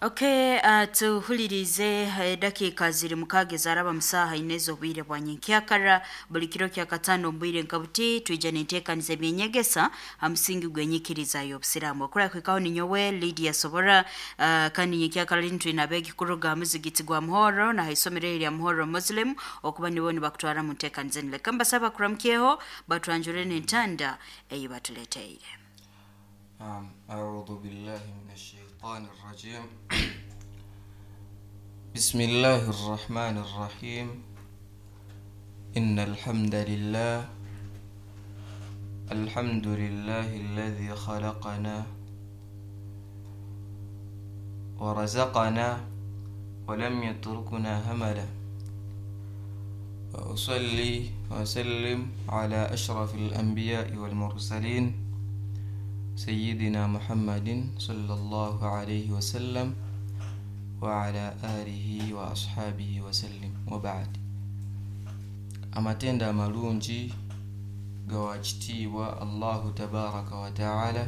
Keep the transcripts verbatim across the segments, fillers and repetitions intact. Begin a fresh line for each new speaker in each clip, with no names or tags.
Okay, uh, tuhulirize edakiika ziri mukaaga ezaraba musaaha ine ez'obwire bwa nyenkyakara. Buli kiro kya kataano omu bwire nka buti twija n'enteekaniza ebyenyegesa ha musingi gw'enyikiriza y'obusiraamu. Okura kuhikaho ninyowe Lydia Sobora. uh, kandi nyenkyakara linu twine abeegi kuruga ha muzigiti gwa Muhoro na ha isomero erya Muhoro Muslim okuba nibo nibakutwara mu nteekaniza enu. Leka mbasaba kuramukyeho batwanjure n'entanda ei batuleteire.
نعم، أعوذ بالله من الشيطان الرجيم. بسم الله الرحمن الرحيم. إن الحمد لله، الحمد لله الذي خلقنا ورزقنا ولم يتركنا هملا، وأصلي وأسلم على أشرف الأنبياء والمرسلين سيدنا محمد صلى الله عليه وسلم وعلى آله وأصحابه وسلم، وبعد. Amatendo amalungi gawa kitiibwa Allahu tabaraka wa taala,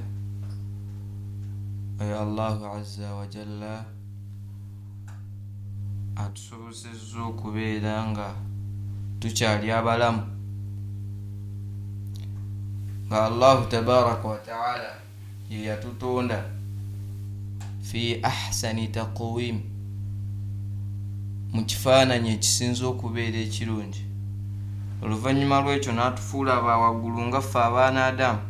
oyo Allahu azza wa jalla atusobosezza okubeera nga tukyali abalamu, nga Allahu tabaraka wa taala ye yatutonda fi ahsani taqwim, mu kifaananyi ekisinza okubeera ekirungi. Oluvannyuma lw'ekyo n'atufuula abawaggulu nga ffe abaana Adamu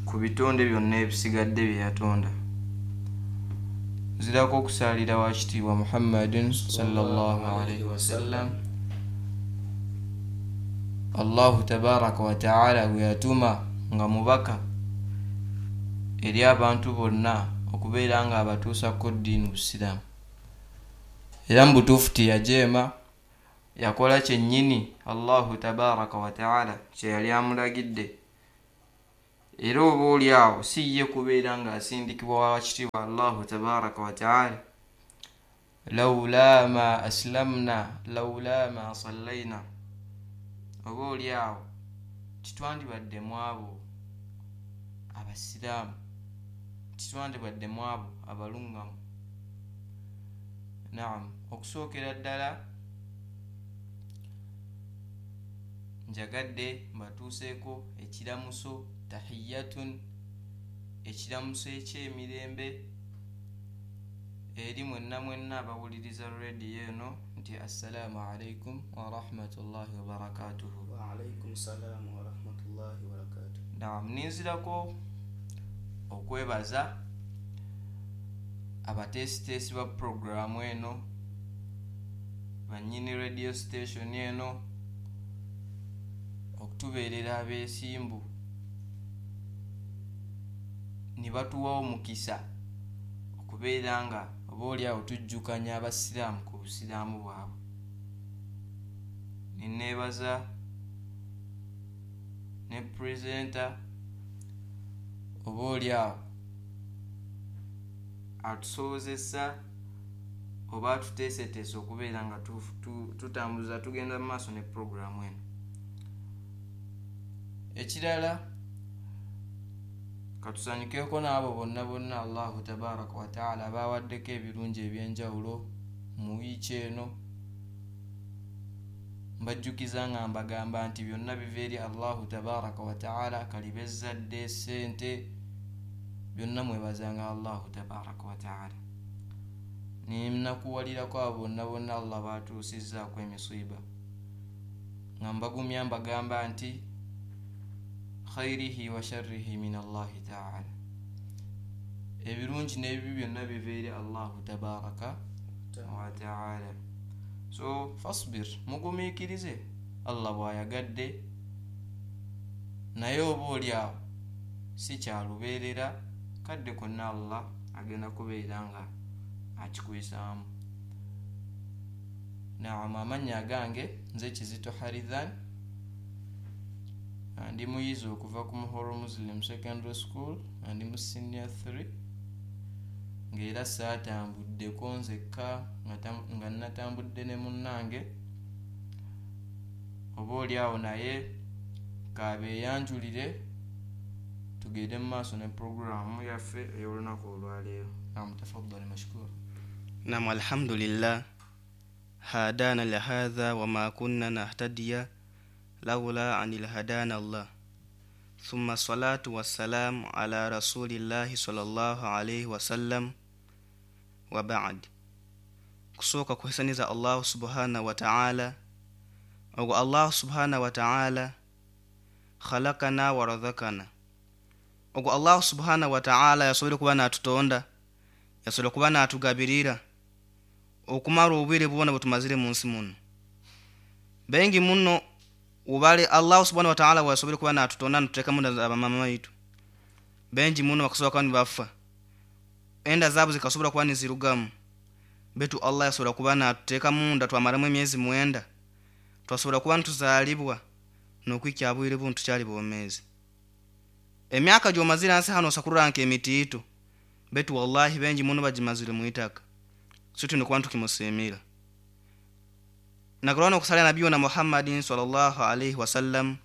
ku bitonde byonna ebisigadde bye yatonda. Nzirako okusaalira wa kitiibwa Muhammadin sallallahu alaihi wasallam, Allahu tabaraka wa taala gwe yatuma nga mubaka eri abantu bonna okubeera nga abatuusako ddiini busiraamu. Era mu butuufu teyajeema, yakola kyennyini Allahu tabaraka wa taala kye yali amulagidde. Era oba oli awo si ye kubeera ng'asindikibwa wa kitiibwa Allahu tabaraka wa taala, laula ma aslamna laula ma sallaina, oba oli awo titwandibadde mu abo abasiraamu, titwandibadde mu abo abaluŋŋamu. Naam, okusookera ddala njagadde mbatuuseeko ekiramuso tahiyatun, ekiramuso eky'emirembe eri mwenna mwenna abawuliriza rediyo eno nti assalaamu alaikum warahmatullahi wabarakatuhu.
Waalaikum salaamu warahmatullahi wabarakatuh.
Naam, ninzirako okwebaza abateesiteesi ba puroguraamu eno, bannyini radio station eno, okutubeerera abeesimbu ne batuwa omukisa okubeera nga oba oli awo tujjukanya abasiraamu ku busiraamu bwabwe. Neneebaza ne purezenta oba oli awo atusobozesa oba atuteeseteese okubeera nga tutambuza tugenda mu maaso ne puroguraamu eno. Ekirala, katusanyukeko n'abo bonna bonna Allahu tabaraka wa taala bawaddeko ebirungi ebyenjawulo mu wiiki eno. Mbajjukiza nga mbagamba nti byonna biva eri Allahu tabaraka wa taala, kalibe ezzadde, ssente, byonna mwebazanga Allahu tabaraka wa taala. Nenakuwalirako abo bonna bonna Allah baatuusizzaako emisiiba, nga mbagumya mbagamba nti khairihi wa sharrihi min Allahi taala, ebirungi n'ebibi byonna biva eri Allahu tabaraka wa taala. So fasbir, mugumiikirize Allah bw'ayagadde, naye oba oli awo si kyalubeerera, kadde konna Allah agenda kubeera nga akikuyisaamu. Naam, amannya agange nze Kizito Harithan, ndi muyizi okuva ku Muhoro Muslim Secondary School, ndi mu senior three, ng'era saatambuddeko nzekka, nga natambudde ne munnange oba oli awo, naye kabeeyanjulire tugende mu maaso ne puroguraamu yaffe ey'olunaku olwaleero. Naam, tafaddali mashkur.
Nam, alhamdulillah hadana lihadha wama kunna nahtadiya laula anil hadana Allah, thumma salatu wassalamu ala rasulillahi sallallahu alaihi wasallam wa ba'd. Kusooka kuhesaniza Allahu subhanahu wa ta'ala. Ogwo Allahu subhanahu wa ta'ala khalakana wa razakana. Ogwo Allahu subhanahu wa ta'ala yasobole kuba natutonda, yasobole kuba natugabirira okumara obwire bwona bwetumazire mu nsi muno. Bengi muno ubale Allahu subhanahu wa ta'ala wasobole kuba natutonda ntuteeka munda abamama baitu. Bengi muno bakasobola kuba nibafa, enda zaabo zikasobola kuba nizirugamu, betu Allah yasobola kuba natuteeka munda twamaramu emyezi mwenda, twasobola kuba ntuzaalibwa n'okwikya bwire buntu tukyali bwomeezi. Emyaka gy'omazire ansi hano osakurura nk'emitiito, betu wallahi bengi muno bagimazire mu itaka. So tulina kuba ntukimusiimira. Nakulwana okusalia nabiyuna Muhammadin sallallahu alaihi wasallam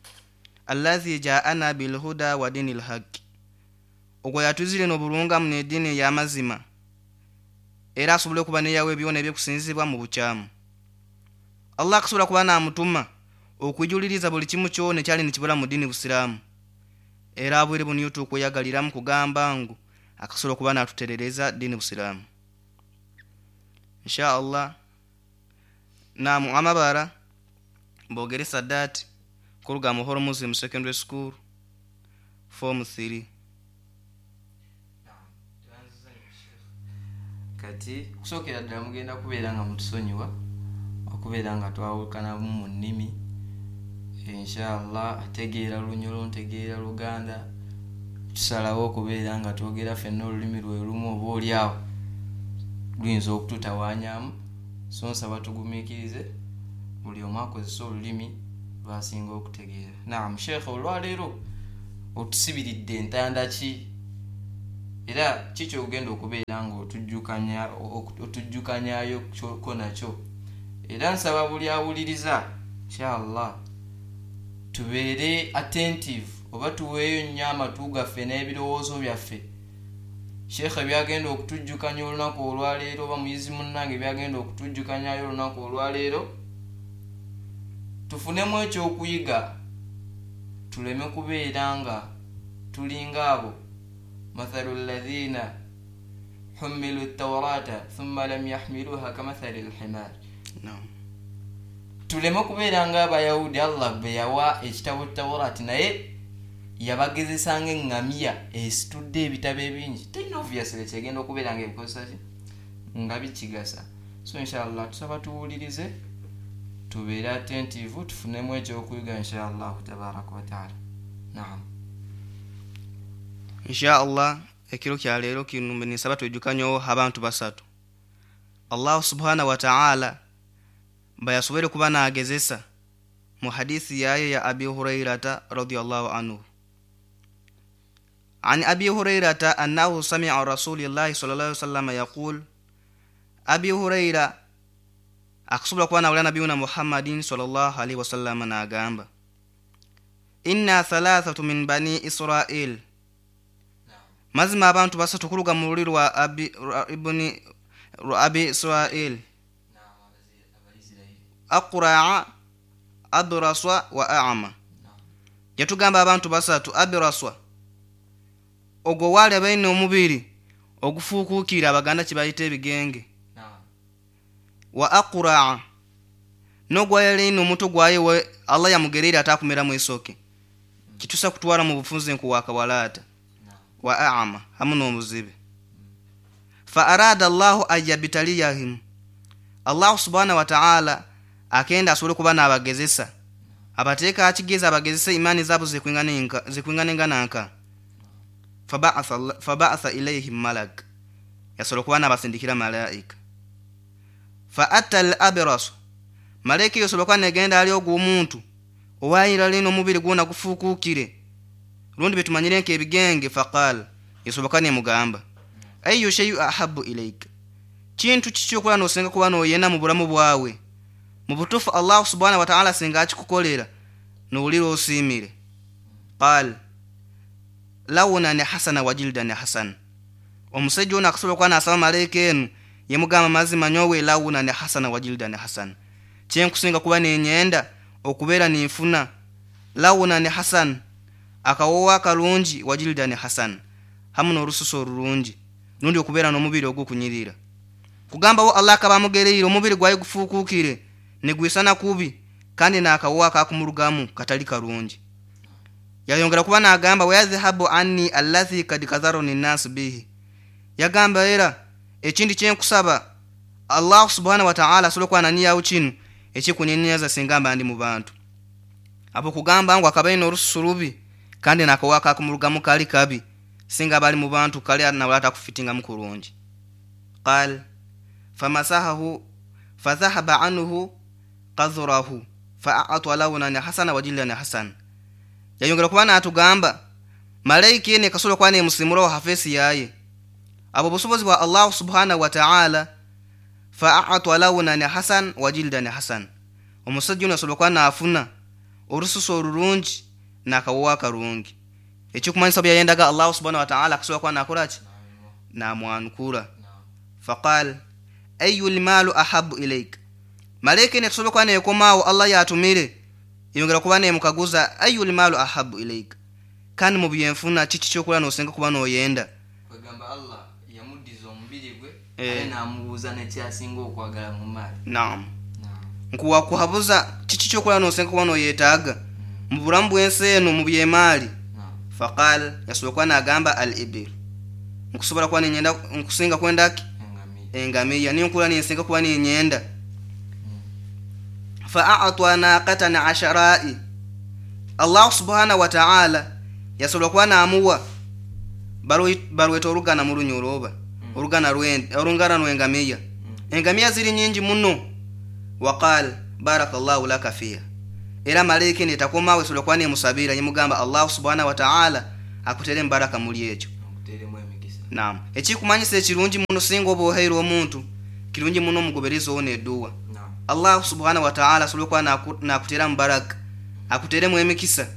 alladhi ja'ana bilhuda wa dinil haqq. Ogwo yatuzire n'obulungamu n'eddiini ey'amazima, era asobole okuba neyawe ebyona eby'okusinzibwa mu bukyamu. Allah akasobola kuba n'amutuma okwijuliriza buli kimu kyona ekyali nikibula mu ddiini Busiraamu. Era abwire buno tukweyagaliramu kugamba ngu akasobola kuba n'atuterereza ddiini Busiraamu. Insha Allah. Namu amabara Bogere Sadat kuruga Muhoro Muslim Secondary School form three.
Kati kusookera ddala mugenda kubeera nga mutusonyiwa okubeera nga twawukanamu mu nnimi. Inshallah ategeera Lunyoro, ntegeera Luganda, tusalawo okubeera nga twogera ffenna olulimi lwe lumu, oba oli awo luyinza okututawaanyamu. So nsaba tugumiikirize buli omu akozese olulimi lw'asinga okutegeera. Naam, Sheikh, olwaleero otusibiridde entanda ki, era ki ky'ogenda okubeera nga otujjukanya otujjukanyayo kyoko nakyo? Era nsaba buli awuliriza inshallah tubeere attentive oba tuweeyo nnyo amatu gaffe n'ebirowoozo byaffe. Sheikh byagenda okutujjukanya olunaku olwaleero oba muyizi munnange byagenda okutujjukanyayo olunaku olwaleero, tufunemu ekyokuyiga, tuleme kubeera nga tulinga abo mathalu alladhina humilu tawrata thumma lam yahmiluha kamathali alhimar.
Naam,
tuleme kubeera nga abayahudi Allah bwe yawa ekitabo Tawrati naye yabagezesanga eŋŋamiya esitudde ebitabo ebingi, terina obviously kyegenda okubeera nga ebikozesa ki nga bikigasa. So inshallah tusaba tuwulirize, tubeere attentive, tufunemu ekyokuyiga inshallah tabaraka wa taala. Naam,
inshallah ekiro kya leero kino nisaba twejukanyewo abantu basatu Allah subhanahu wa ta'ala bayasobole kuba n'agezesa mu hadithi yaye ya Abi Hurairata radiyallahu anhu. An Abi Hurairata annahu sami'a Rasulillahi sallallahu alaihi wasallam yaqul. Abi Huraira akusobola kuba nawulira nabiyuna Muhammadin sallallahu alaihi wasallam n'agamba inna thalathatu min bani Israil, mazima abantu basatu kuruga mu lulimi lwa Abi ibni Abi Israil, aqra'a abraswa wa a'ma. Yatugamba abantu basatu abraswa ogwo wali abaine omubiri ogufuukukira abaganda kibayita ebigenge, wa aqra'a nogwa yali omuto gwaye Allah yamugerera atakumera mu isoke kitusa kutwara mu bufunze nkuwakawalata, wa a'ma hamu n'omuzibe. Fa arada Allahu ayabtaliyahim, Allah subhanahu wa ta'ala akenda asobole kuba n'abagezesa abateeka akigeza abagezesa imani zaabo zikwinganenga zikwinganengananka. Faba'atha faba'atha ilayhim malak, yasobola kuba n'abasindikira malaika. Fa atal abras, malaika yasobola kuba negenda ali ogwo omuntu owayira lino omubiri gwona gufuukukire rundi betumanyire nk'ebigenge. Faqal, yasobola kuba nemugamba ayu shay'u ahabbu ilayka, kintu kiki okola n'osenga kuba n'oyena mu bulamu bwawe mu butuufu Allah subhanahu wa ta'ala singa akikukolera n'owulira osiimire. Qal lawna ni hasana wa jildan hasana, omusajja ono akasobola kuba n'asaba malayika eno Yemugamba mazima nyowe launa ne hasana wa jildan hasan, kyenkusinga kuba nenyenda okubeera ninfuna launa ne hasan, akawowo akalungi, wa jildan hasan, hamu n'olususu olulungi, nundi okubeera n'omubiri ogukunyirira. Kugambawo Allah akaba amugereire omubiri gwaye gufuukukire negwisana kubi, kandi n'akawowo akakumurugamu katali karungi. Yayongera kuba n'agamba wayadhhabu anni allathi kad kadharani nnasu bihi. Yagamba era ekindi kyenkusaba Allah subhanahu wa ta'ala asobole okuba nanyiyawo kino ekikunyenyaza singamba ndi mu bantu. Abo kugamba ngu akaba ayina olususu lubi kandi n'akawowo akakumurugamu kali kabi, singa bali mu bantu kale nawe atakufitingamu kurungi. Qal famasahahu fadhahaba anhu qadhurahu fa'atwa lawnan hasana wa jildan hasan. Yayongera kuba n'atugamba malayika ene kasobola kuba nemusimulawo hafesi yaye abo busobozi bwa Allah subhanahu wa ta'ala. Fa'atwa lawnan hasan wa jildan hasan, omusajja ono asobola kuba n'afuna olususu olulungi n'akawowo akalungi. Ekikumanyisa bwe yayendaga Allah subhanahu wa ta'ala akasobola kuba n'akola ki, n'amwanukula. Faqal ayu lmalu ahabu ilaik, malayika ene tusobola kuba neekomaawo Allah yatumire yongera kuba nemukaguza ayu lmalu ahabu ilaik, kandi mu byenfuna kiki kyokola n'osenga kuba n'oyenda.
Kwegamba Allah yamuddiza omubiri gwe
Eh.
ate n'amubuuza nekyasinga okwagala mu maali.
Naam, nkuwakuhabuza kiki kyokola n'osenga kuba n'oyeetaaga mu bulamu bw'ensi eno mu byemaali. Faqal yasobola kuba n'agamba al ibil, nkusobola kuba nenyenda nkusinga kwendaki
engamiya.
Engamiya ninkula ninsinga kuba ninyenda. Fa'atwa naqatan asharai, Allah subhanahu wa ta'ala yasobola kuba n'amuwa balweta olugana mu lunyolo oba olugana lw'ente, olungana lw'engamiya. Engamiya ziri nyingi muno. Waqal barakallahu laka fiha, era malayika eno etakomawo esobola kuba nemusabira yemugamba Allah subhanahu wa ta'ala akutere embaraka muli ekyo,
akuteremu emikisa.
Naam, ekikumanyisa ekirungi muno singa oba oheire omuntu kirungi muno omugoberezi ono edduwa.
Naam.
Allah subhanahu wa ta'ala asobola okuba naku- nakuteramu baraka akuteremu emikisa,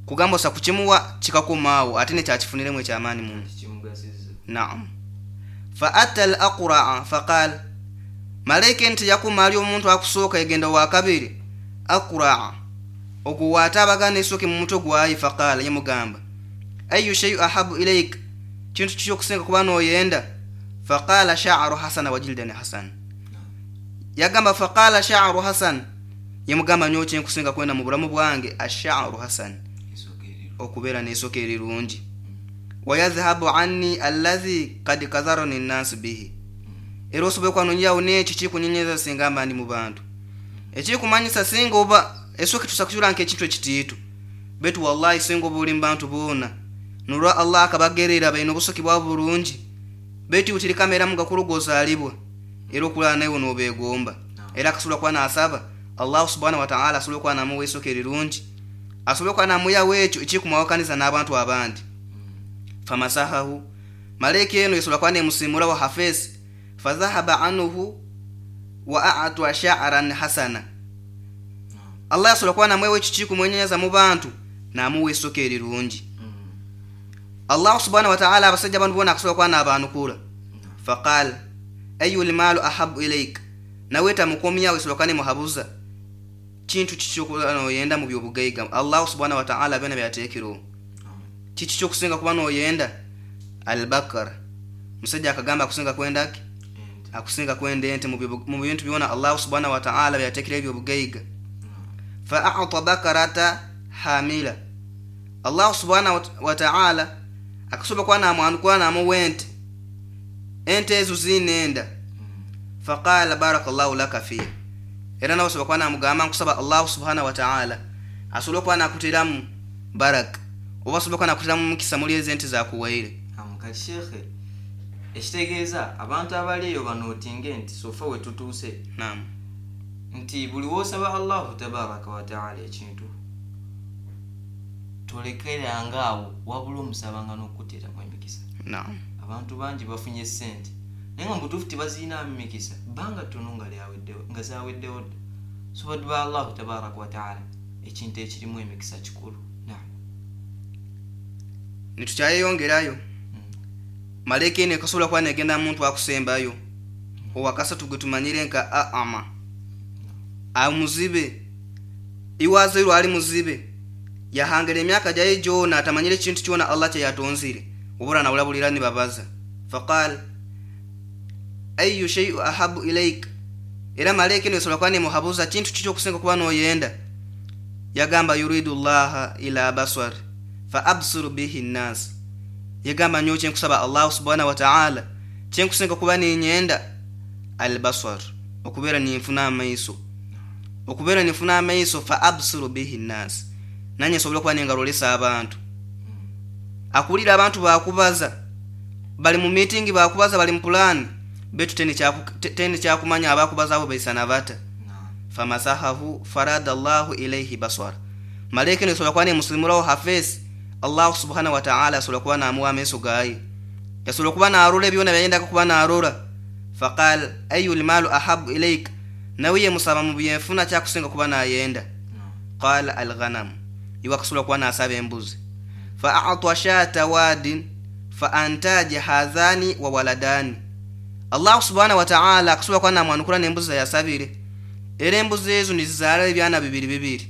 kugamba osa kukimuwa kikakomaawo ate nekyakifuniremu ekyamaanyi muno.
Kimugasizza.
Naam. Fa atta al aqraa faqal, malayika nti yakuma ali omuntu akusooka egenda wakabiri aqraa ogwo waate abagana esooke mu mutwe gwaye. Faqala yemugamba ayu shayu ahabu ilaik, kintu kiki okusinga kuba n'oyenda. Faqala sha'ru hasana wa jildan hasan. Yagamba faqala sha'ru hasan, yemugamba nyowe kyenkusinga kwenda mu bulamu bwange asha'ru hasan,
esooka eriru
okubeera n'esooka erirungi. Wayadhhabu anni allazi kad kadharani nnaasu bihi, era osobola okwanonyawo n'ekyo kikunyenyeza singa mba ndi mu bantu. Ekikumanyisa singa oba esooka tusa kukyula nk'ekintu ekitiitu, betu wallahi singa oba oli mu bantu boona nolwa Allah akabagerera balina obusoki bwabo bulungi, betu utirikameeramu gakulu gozaalibwa era okulala nawe n'obeegomba. Era akasobola kuba n'asaba Allah subhanahu wataala asobole okuba namuwa esooka erirungi, asobole okuba namuyawo ekyo ekikumwawukaniza n'abantu abandi. Famasahahu, malayika eno esobola kuba nemusimulawo hafesi. Fadhahaba anhu wa atwa sha'ran hasana, Allah asobola kuba namwewa ekyo kikumwenyenyeza mu bantu namuwa esooka erirungi. Allah subhanahu wataala abasajja bano bona akasobola kuba n'abaanukula. Faqal ayu lmaalu ahabu ilaik, nawe tamukomyawo esobola kuba nemuhabuza kintu kiki okuba noyenda mu byobugaiga Allah subhanahu wataala byona byateekerewo, kiki kyokusinga kuba noyenda. Albakara, musajja akagamba akusinga kwendaki, akusinga kwenda ente mu byobu- mu bintu byona Allah subhanahu wataala byateekerewo ebyobugaiga. Fa ata bakarata hamila, Allah subhanahu wataala akasobola kuba namwanukula namuwa ente, ente ezo zinenda. Faqala barakallahu laka fiha, era nawe osobola kuba namugamba nkusaba Allah subhanahu wataala asobole okuba nakuteramu baraka oba asobole okuba nakuteramu mukisa muli ezo ente zakuwaire.
Kati sheekhe, ekitegeeza abantu abali eyo banootinge nti sofa we tutuuse
Naam.
nti buli woosaba Allahu tabaraka wataala ekintu tolekeranga awo, wabula omusabanga n'okuteeramu emikisa.
Naam.
Abantu bangi bafunye sente naye nga mubutuufu tebazirinamu mikisa, bbanga ttono nga lyaweddewo nga zaweddewo dda. So baddu ba Allahu tabaraka wataala, ekintu ekirimu emikisa kikulu. Naam.
Nitukyayeyongerayo, malayika eno ekasobola kuba negenda muntu akusembayo. Owakasatu gwe tumanyire nka ama amuzibe, iwazairwe ali muzibe, yahangire emyaka gyaye gyona atamanyire ekintu kyona Allah kyeyatonzire, obura nawulabulira nibabaza. Faqal ayu shay'u ahabu ilaik, era malaika eno esobola kuba nemuhabuza kintu kiki okusinga kuba noyenda. Yagamba yuridu llaha ila baswar fa absiru bihi nnas, yagamba nyowe kyenkusaba Allahu subhanahu wa ta'ala, kyenkusinga kuba ninyenda albaswar, okubeera ninfuna amaiso, okubeera ninfuna amaiso, fa absiru bihi nnas, nanye nsobola okuba nengalolesa abantu. Akulira abantu bakubaza, bali mu meeting bakubaza, bali mu plan, betu teni kyakumanya abakubaza abo baisana bata. Famasahahu farada Allahu ilayhi baswara, malaika eno esobola kuba nemusimulawo hafesi, Allahu subhanahu wa ta'ala asobola kuba namuwa amaiso gaye, yasobola kuba narora ebyona byayendaka kuba narora. Faqal ayu lmalu ahabu ilaik, nawe ye musaba mu byenfuna kyakusinga kuba nayenda. Qala alghanam, iwe akasobola kuba nasaba embuzi. Fa a'ta shata wadin fa antaja hadhani wa waladani, Allahu subhanahu wa ta'ala akasobola kuba namwanukula n'embuzi yasabire, era embuzi ezo nizizaala ebyana bibiri bibiri.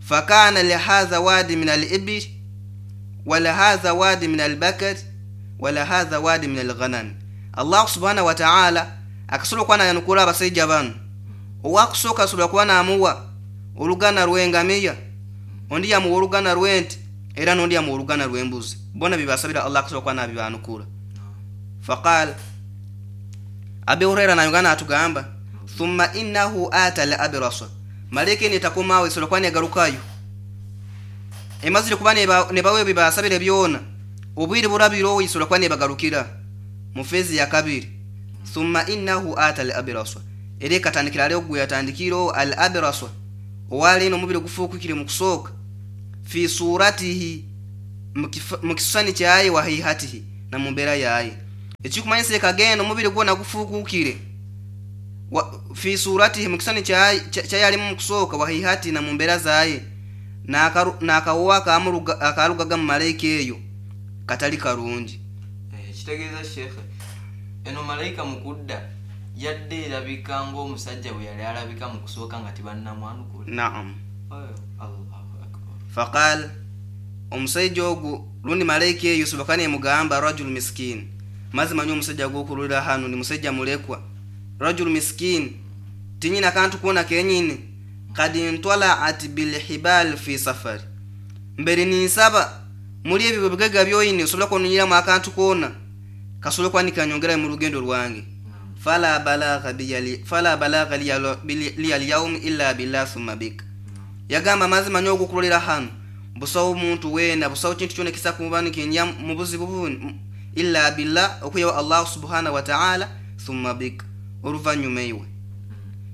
Fakana lihadha wadi min al-ibil wa lihadha wadi min al-bakar wa lihadha wadi min al-ghanam, Allahu subhanahu wa ta'ala akasobola kuba nayanukula abasajja bano. Owakusooka asobola kuba namuwa olugana lw'engamiya, ondi yamuwa olugana lw'ente, era n'ondi yamuwa olugana lw'embuzi, bona bibasabira Allah akasobola kuba nabibanukula. Faqal Abi Huraira nayongana atugamba thumma innahu ata al-abrasa, malaika eno etakomaawo esobola kuba negarukayo, emazire kuba nebawe bibasabire byona, obwire burabire esobola kuba nebagarukira mu fezi ya kabiri. Thumma innahu ata al-abrasa, era ekatandikira ali ogwe yatandikira al-abrasa, owali eno omubiri gufuukukire mu kusooka, fi suratihi, mu kisani kyaye, wa haihatihi, na mu mbeera yaye. Ekikumanyisa ekagenda omubiri gwona gufuukukire fi suratihi, mu kisani kyaye alimu mu kusooka, wa haihati, na mu mbeera zaye, n'akawowa akalugaga mu malayika eyo katali karungi.
Kitegeeza shekhe eno malayika mu kudda yadde erabika ng'omusajja bwe yali alabika mu kusooka nga tebannamwanukula.
Naam.
Allahu akbar.
Faqal omusajja ogwo lundi malayika eyo soboka nemugamba rajul miskin, mazima nyo omusajja gw'okululira hano ni musajja mulekwa, rajul miskin tinyina kantu kuona kenyini, kad intwalaat bilhibal fi safari, mbere ninsaba muri ebyo bigega byoyine osobola kununyiramu akantu koona kasobola kuba nikanyongera mu lugendo lwange. Fala balagha biyali fala balagha liya al-yawm illa billah thumma bik, yagamba mazima nyo ogukulolera hano busawo omuntu wena, busawo kintu kyona kisa kuba nikinya mu buzibu bunu illa billah, okuyawa Allah subhanahu wa ta'ala thumma bik, oluvannyuma iwe.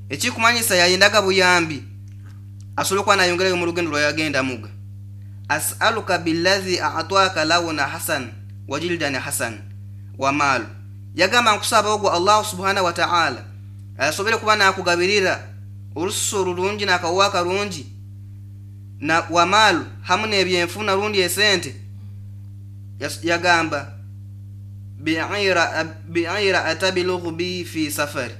Ekikumanyisa yayendaga buyambi asobola kuba nayongerayo mu lugendo lwayagenda muga. As'aluka billadhi a'taka lawna hasan wa jildan hasan wa mal, yagamba nkusaba ogwo Allah subhanahu wa ta'ala asobole kuba nakugabirira olususu olulungi n'akawa akarungi na wa mal hamu n'ebyenfuna rundi esente. Yagamba bi'ira bi'ira atabilughu bi fi safari,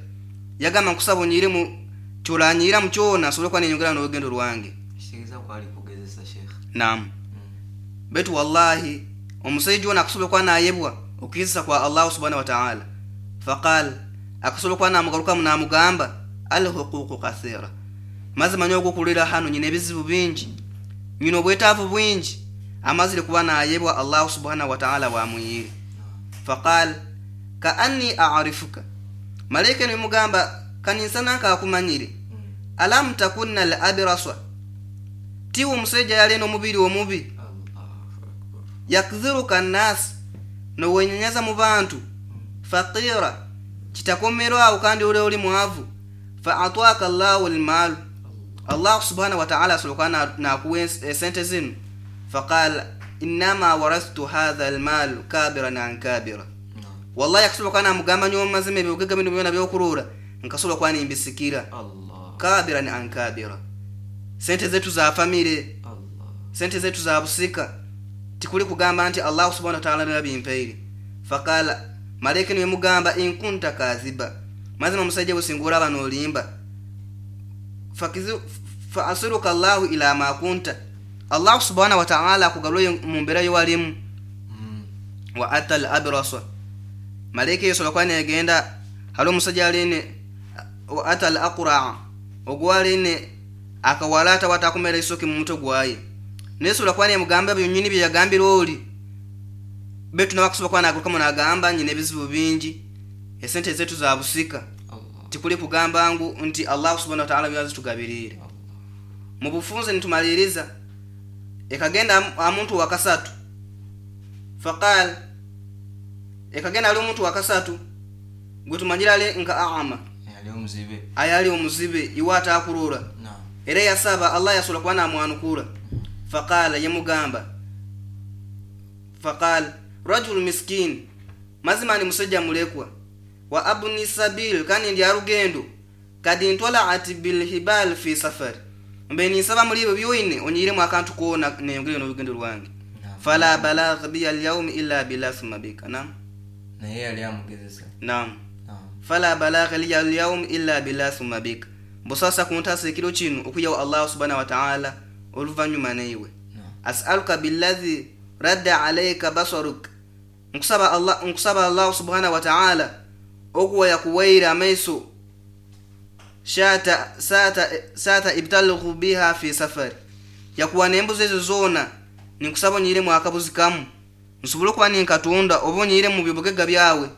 yagamba nkusaba onyiremu kyolanyira mu kyona asobole kuba nenyongera n'olugendo lwange.
Kitegeeza kwali kugezesa shekhe.
Naam. Betu wallahi omusajja ono akasobola kuba nayebwa okukizisa kwa Allahu subhanahu wa ta'ala. Faqal akasobola kuba namugarukamu namugamba alhuququ kathira, mazima nyo ogukulira hano nyina ebizibu bingi, nyina obwetaavu bwingi, amazire kuba nayebwa Allahu subhanahu wa ta'ala wamuyire. Faqal kaanni a'rifuka, malaika nemugamba kaninsana nkakumanyire, alam takunna al-abrasa, tiwo omusajja yalina omubiri omubi, yakdhiruka nnas, nowenyanyaza mu bantu, faqira, kitakomerwawo kandi uli oli mwavu, fa atwaka Allahu al-mal, Allah subhanahu wa ta'ala asobola kuba nakuwa esente zino. Faqala innama warathtu hadha al-mal kabiran an kabira, wallahi akasobola kuba namugamba nyo mazima ebigega bino byona byokurura nkasobola kuba nimbisikira, kabiran an kabira, sente zetu za famire, sente zetu za busika, tikuli kugamba nti Allah subhanahu wa ta'ala nabimpeire. Faqala Malayika niyemugamba inkunta kaziba, mazima omusajja businga olaba n'olimba, fa asiruka Allahu ila ma kunta, Allahu subhanahu wa ta'ala akugalwe mu mbeera yowalimu. Wa ata al abrasa, malayika yesobola kuba negenda hali omusajja aline wa ata al aqraa, ogwaline akawalata watakumera isoke mu mutwe gwaye, nesobola kuba nemugamba byonyini bye yagambira oli betu nabakusobola kuba nagarukamu nagamba nyina ebizibu bingi, esente zetu za busika, tikuli kugamba ngu nti Allah subhanahu wa ta'ala byazitugabirire. Mu bufunze nitumaliriza ekagenda amuntu wakasatu, faqal ekagenda ali omuntu wakasatu gwetumanyira ale nka aama
yali omuzibe,
ayali omuzibe iwata akurura era yasaba Allah yasobola kuba namwanukura. Faqala yemugamba faqal rajul miskin, mazima ni musajja mulekwa, wa abni sabil, kandi ndi arugendo, kadi ntwala bil hibal fi safar, mbe nisaba muri ibyo byoine onyiremu akantu kona neyongere n'olugendo lwange. Fala balagh bi al yawm illa billah thumma bika. Nam
naye yali amugezesa.
Nam fala balagh li al yawm illa billah thumma bika, mbusasa kuntasa ekiro kino okuyawo Allah subhanahu wa ta'ala oluvanyuma neiwe. As'aluka billadhi radda alayka basaruk, nkusaba Allah, nkusaba Allah subhanahu wa ta'ala okuwa yakuwaira amaiso shata sata sata ibtalghu biha fi safari, yakuwa nembuzi ezo zona ninkusaba onyiremu akabuzi kamu nsobole okuba ninkatunda oba onyire mu bibugega byawe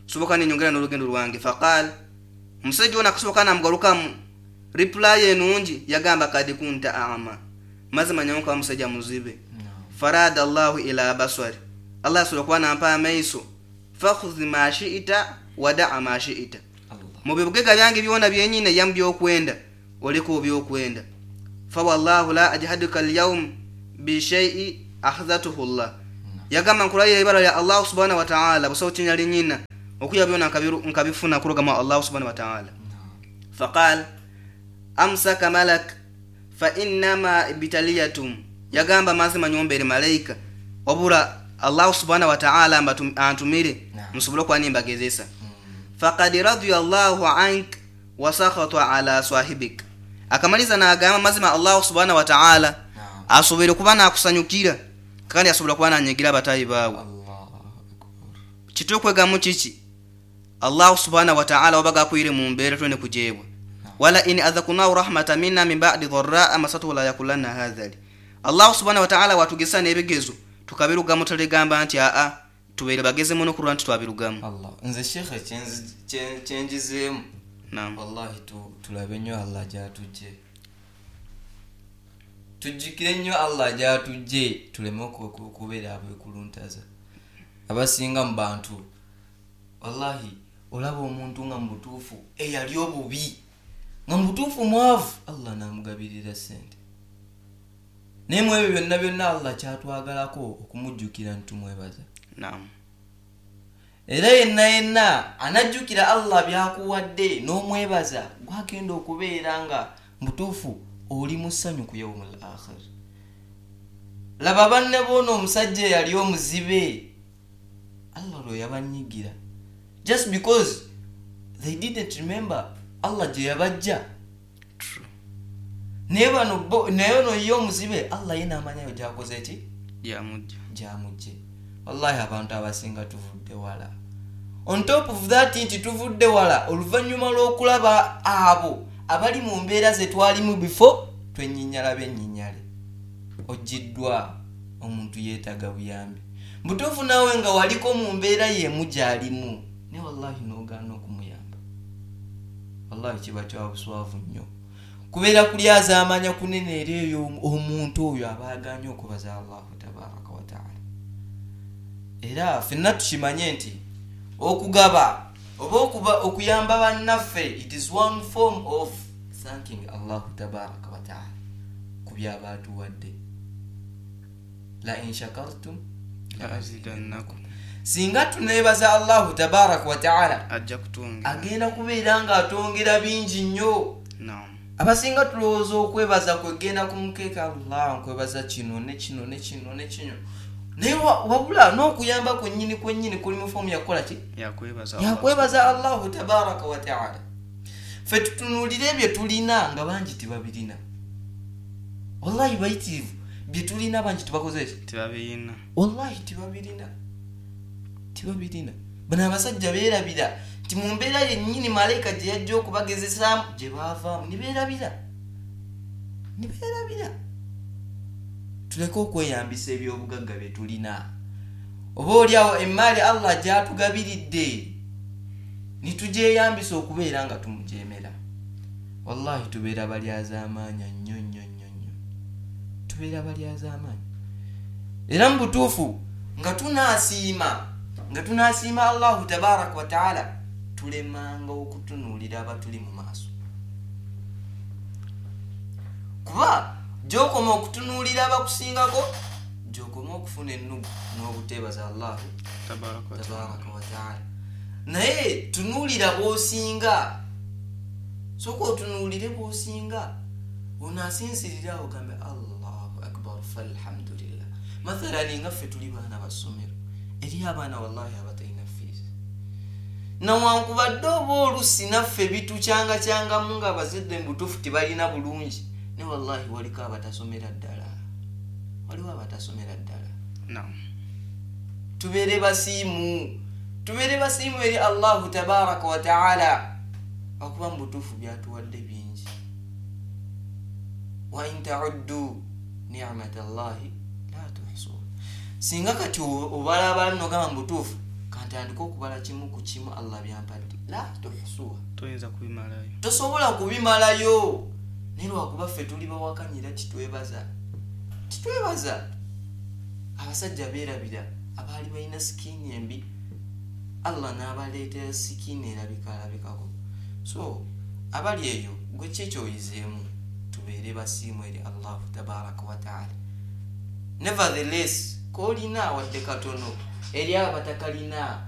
soboka ninyongera n'olugendo lwange. Faqal omusajja ono akasoboka namugarukamu reply enungi yagamba kadi kunta ama, mazima nyawo nkaba musajja muzibe. Farada Allahu ila basari, Allah asobola kuba nampa amaiso, fakhudh ma shi'ita wada'a ma shi'ita, mu bibugega byange byona byenyine yamu byokwenda oleko byokwenda. Fa wallahu la ajhaduka al-yawm bi shay'i akhadhatuhu Allah, yagamba nkulayira ibara ya Allah subhanahu wa ta'ala busawo kinyali nyina okuya byona nkabifuna kurugama Allah subhanahu wa ta'ala. Faqal amsaka malak fa innama ibtaliyatum, yagamba mazima nyombere malaika obura Allah subhanahu wa ta'ala antumire musobole kuba nimbagezesa. Faqad radiya Allahu ank wa sakhata ala sahibik, akamaliza n'agamba mazima Allah subhanahu wa ta'ala asobole kuba nakusanyukira kandi asobola kuba nanyigira abatayi baawe. Kitokwegamu kiki? Allah subhanahu wa ta'ala wabaga akwire mu mbeera twene kujeebwa. Wala in adhakunahu rahmatan minna min ba'di dharra masatuhu la yakulanna hadhali, Allah subhanahu wa ta'ala watugesa n'ebigezo tukabirugamu taligamba nti aa tubeere bageze muno kulwa nti twabirugamu.
Allah nze shekhe kyenjizeemu
Naam.
Wallahi tulabe nnyo Allah gyatujje, tujjukire nnyo Allah gyatujje, tuleme okubeera abeekuluntaza. Abasinga mu bantu wallahi olaba omuntu nga mu butuufu eyali obubi nga mu butuufu mwavu, Allah n'amugabirira ssente, naye mu ebyo byonna byonna Allah kyatwagalako okumujjukira nti tumwebaza.
Naam.
Era yenna yenna anajjukira Allah byakuwadde n'omwebaza gwagenda okubeera nga mutuufu oli mu ssanyu ku yawmul akhir. Laba banne boona omusajja eyali omuzibe Allah lwe yabanyigira just because they didn't remember Allah gye yabajja. Naye bano bo naye ono ye omuzibe Allah ye n'amanyayo gy'akoze ki
gyamujje
gyamujje. Wallahi abantu abasinga tuvudde wala. On top of that nti tuvudde wala oluvannyuma lw'okulaba abo abali mu mbeera ze twalimu before twenyinyala bennyinyale. Oggiddwa omuntu yeetaaga buyambi butuufu naawe nga waliko mu mbeera y'emu gy'alimu naye wallahi n'ogaana okumuyamba, wallahi kiba kya buswavu nnyo kubeera kulyazaamanya kunene eri eyo omuntu oyo aba agaanye okubaza Allahu tabaraka wa taala. Era ffenna tukimanye nti okugaba oba okuba okuyamba bannaffe it is one form of thanking Allahu tabaraka wa taala ku byaba atuwadde. La in shakartum
la azidannakum,
singa tuneebaza Allahu tabaraka wa taala
ajja kutwongera,
agenda kubeera ng'atwongera bingi nnyo.
Naam.
Abasinga tulowooza okwebaza kwegenda ku mukeeka, Allah nkwebaza kino ne kino ne kino ne kino, Naye wabula n'okuyamba kwennyini kwennyini kuli mu foomu yakukola ki? Yakwebaza Allahu tabaraka wa taala. Ffe tutunuulire bye tulina nga bangi tebabirina. Wallahi bayitirivu bye tulina bangi tebakoze ki?
Tebabirina.
Wallahi tebabirina, tebabirina. Bano abasajja beerabira nti mu mbeera yennyini malayika gye yajja okubagezesaamu gye baavaamu ne beerabira, ne beerabira. Tuleke okweyambisa ebyobugagga bye tulina, oba oliawo emaali Allah gy'atugabiridde ne tugyeyambisa okubeera nga tumujeemera. Wallahi tubeera balyazaamaanya nnyo nnyo nnyo nnyo, tubeera balyazaamaanya. Era mu butuufu nga tunaasiima nga tunaasiima Allahu tabaraka wa taala, tulemanga okutunuulira abatuli mu maaso, kuba gy'okoma okutunuulira abakusingako gy'okoma okufuna ennugu n'obuteebaza Allahu tabaraka wa taala. Naye tunuulira bw'osinga, sooka otunuulire bw'osinga, onaasinzirira awo ogambe Allahu akbar falhamdulillah. Mathalani nga ffe tuli baana ba ssomero, eri abaana wallahi abatalina fees, nawankubadde oba olusi naffe bitukyangakyangamu nga abazadde mu butuufu tebalina bulungi, ne wallahi waliko abatasomera ddala, waliwo abatasomera ddala. Tubeere basiimu, tubeere basiimu eri Allahu tabaraka wa taala, akuba mu butuufu byatuwadde bingi. Wa in tauddu nicmata llahi la tuhsuha. Singa kati obalabala nogamba mu butuufu kantandike okubala kimu ku kimu Allah byampadde, la tuhsuha,
toyinza kubimalayo,
tosobola kubimalayo. Naye lwakuba ffe tuli bawakanyira, titwebaza, titwebaza. Abasajja beerabira abaali balina sikiini embi, Allah n'abaleetera sikiini erabikalabikako. So abali eyo gwe ki ekyoyizeemu? Tubeere basiimu eri Allahu tabaraka wa taala. Nevertheless koolina wadde katono eri abatakalina,